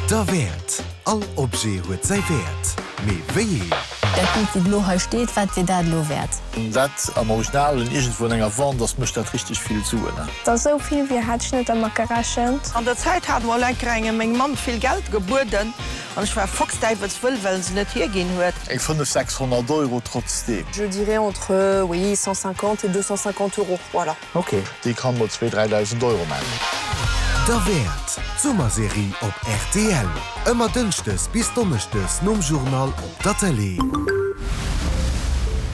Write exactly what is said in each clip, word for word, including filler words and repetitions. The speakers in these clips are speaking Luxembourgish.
Derwäert. All Objet huet säi Wäert. Mee wéi een? Dat Bild, wat elo hei steet, wat wier dat elo wäert? Dat am Originalen iergendwou an enger Wand ass, mécht dat richteg vill Suen. Dat ass esou vill, wéi hat ech net dermat gerechent. An der Zäit hat mol eng Kéier meng Mamm vill Geld gebueden an ech war fuchsdäiwelswëll, well se net hierginn huet. Eng fënnef, sechshonnert Euro trotzdeem. Je dirais entre, oui, cent cinquante et deux cent cinquante euros, voilà. Ok, déi kann mol zwee, dräidausend Euro maachen. Derwäert, d'Summerserie op R T L. Ëmmer dënschdes bis donneschdes nom Journal op der Tëlee.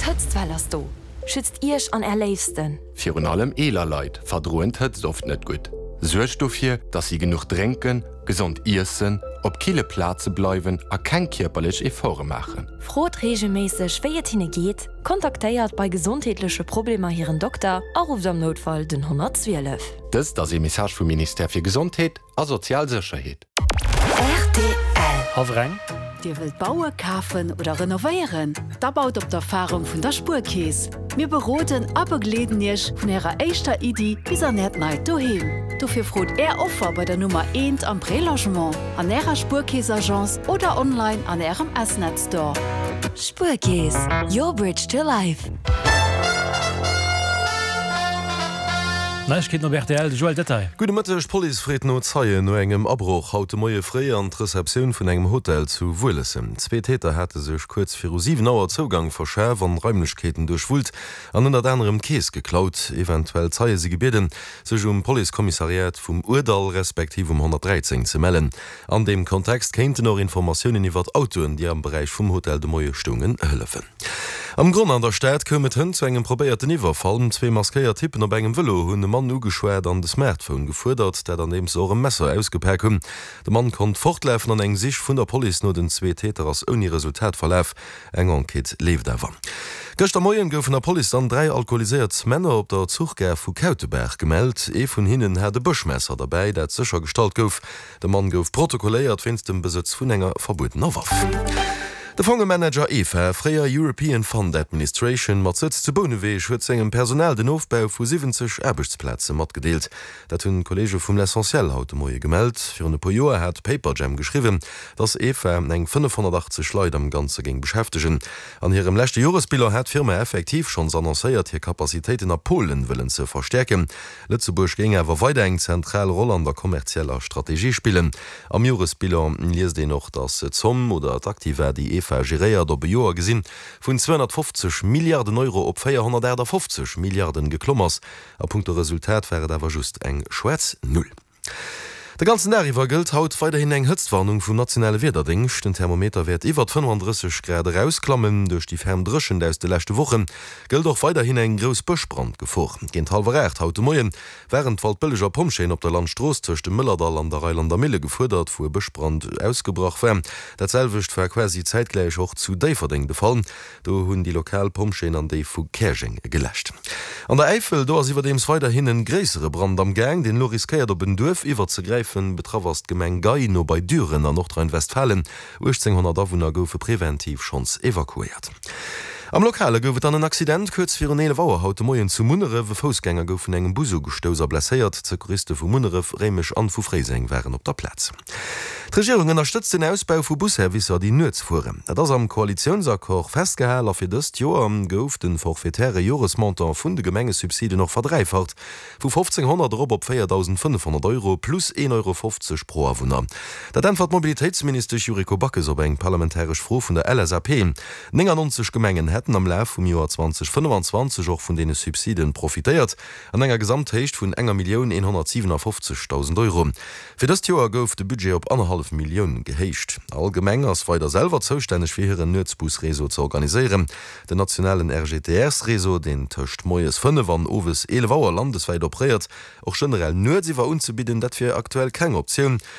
D'Hëtztwell ass do. Schützt Iech an är Léifsten. Virun allem eeler Leit verdroen d'Hëtzt oft net gutt. Suergt dofir, dass si genuch drénken, gesond iessen, op kille Plaze bleiwen a keng kierperlech Efforte maachen. Frot reegelméisseg, wéi et hinne geet, kontaktéiert bei gesondheetleche Problemer hiren Dokter a rufft am Noutfall den honnertzwielef. Dëst ass e Message vum Ministère fir Gesondheet a sozial Sécherheet. R T L. Hawreng. Dir wëllt baue, kafen oder renovéieren? Da baut op d'Erfarung vun der Spuerkeess. Mir beroden a begleeden Iech vun Ärer éischter Iddi bis an Äert neit Doheem. Dofir frot Är Offer bei der Nummer eent am Prélogement, an Ärer Spuerkeess-Agence oder online an Ärem S-Net Store. Spuerkeess, your bridge to life. Neiegkeeten op R T L, de Joël Detail. Gudde Mëtteg, D'Police freet no Zeien no engem Abroch haut de Moie fréi an d'Receptioun vun engem Hotel zu Wuelessem. Zwee Täter hate sech kuerz viru siwen Auer Zougang verschaf an Raimlechkeeten duerchwullt an ënnert anerem d'Keess geklaut. Eventuell Zeie si gebieden, sech um Policekommissariat vum Ourdall respektiv um honnertdräizéng ze mellen. An deem Kontext kéinten och Informatiounen iwwert Autoen, déi am Beräich vum Hotel de Moie stoungen, hëllefen. Am Gronn an der Stad koum et hënt zu engem probéierten Iwwerfall. Zwee maskéiert Typpen op engem Vëlo hunn e Mann ugeschwat an de Smartphone gefuerdert, dat andeems se och e Messer ausgepak hunn. De Mann konnt fortlafen an eng Sich vun der Police no den zwee Täter ass ouni Resultat verlaf. Eng Enquête leeft awer. Gëschter Moien goufen der Police dann dräi alkoholiséiert Männer op der Zuchgare vu Kautebaach gemellt. Ee vun hinnen hat e Bëschmesser derbäi, dat séchergestallt gouf. De Mann gouf protokolléiert wéinst dem Besëtz vun enger verbuedener Waff. De Fongemanager E F A, fréier European Fund Administration, mat Sëtz zu Bouneweg huet sengem Personal den Ofbau vu siwwenzeg Aarbechtsplaze matgedeelt. Dat hunn d'Kolleege vum L'Essentiel haut de Moie gemellt. Virun e puer Joer hat Paperjam geschriwwen, datt E F A eng fënnefhonnertachtzeg Leit am Ganze géing beschäftegen. An hirem leschte Joresbilan hat d'Firma effektiv schonns annoncéiert, hir Capacitéiten a Polen wëllen ze verstäerken. Lëtzebuerg géing awer weider eng zentral Roll an der kommerzieller Strategie spillen. Am Joresbilan liest een och, datt d'Zomm oder d'Aktiva, déi E F A geréiert, op e Joer gesinn vun zweehonnertfofzeg Milliarden Euro op véierhonnertaachtafoffzeg Milliarden geklomm ass. A punkto Resultat war et awer just eng schwaarz Null. De ganzen Dag iwwer gëllt haut weiderhin eng Hëtztwarnung vum nationale Wiederdéngscht. Den Thermometer wäert iwwer fënnefandrësseg Grad erausklammen. Duerch déi ferm Dréchent aus de leschte Woche gëllt och weiderhin eng grouss Bëschbrandgefor. Géint hallwer aacht haut de Moie waren d'Waldbëlleger Pompjeeën op der Landstrooss tëscht dem Mëllerdall an der Reilander Mille gefuerdert, wou e Bëschbrand ausgebrach war. Dat selwecht war quasi zäitgläich och zu Déifferdeng de Fall. Do hunn déi lokal Pompjeeën an déi vu Käerjeng geläscht. An der Äifel, do ass iwwerdeems weiderhin e gréissere Brand am Gaang, deen elo riskéiert op en Duerf iwwerzegräifen. Betraff ass d'Gemeng Gey no bei Düren an Nordrhein-Westfalen. uechtzénghonnert Awunner goufe preventiv schonns evakuéiert. Am Lokale gouf et dann en Accident kuerz virun eelef Auer haut de Moien zu Munneref. E Foussgänger gouf vun engem Bus ugestouss a blesséiert. D'Secouriste vu Munneref, Réimech an vu Fréiseng waren op der Plaz. D'Regierung ënnerstëtzt den Ausbau vu Busservicer, déi nuets fueren. Dat ass am Koalitiounsaccord festgehal a fir dëst Joer gouf de forfaitäre Joresmontant vun de Gemengesubsiden och verdräifacht, vu fofzénghonnert erop op véierdausendfënnefhonnert Euro plus een Euro fofzeg pro Awunner. Dat äntwert d'Mobilitéitsministesch Yuriko Backes op eng parlamentaresch Fro vun der L S A P. néngannonzeg Gemengen hätten am Laf vum Joer zweedausendfënnefanzwanzeg och vun deene Subsiden profitéiert, an enger Gesamthéicht vun enger Millioun eenhonnertsiwenafoffzegdausend Euro. Fir dëst Joer gouf de Budget op annerhallef Millioun gehéicht. All Gemeng ass weider selwer zoustänneg fir hiren Nuetsbusreseau ze organiséieren. Den nationalen R G T R-Réseau, deen tëscht moies fënnef an owes eelef Auer landeswäit operéiert, och generell nuets iwwer unzebidden, dat wier aktuell keng Optioun.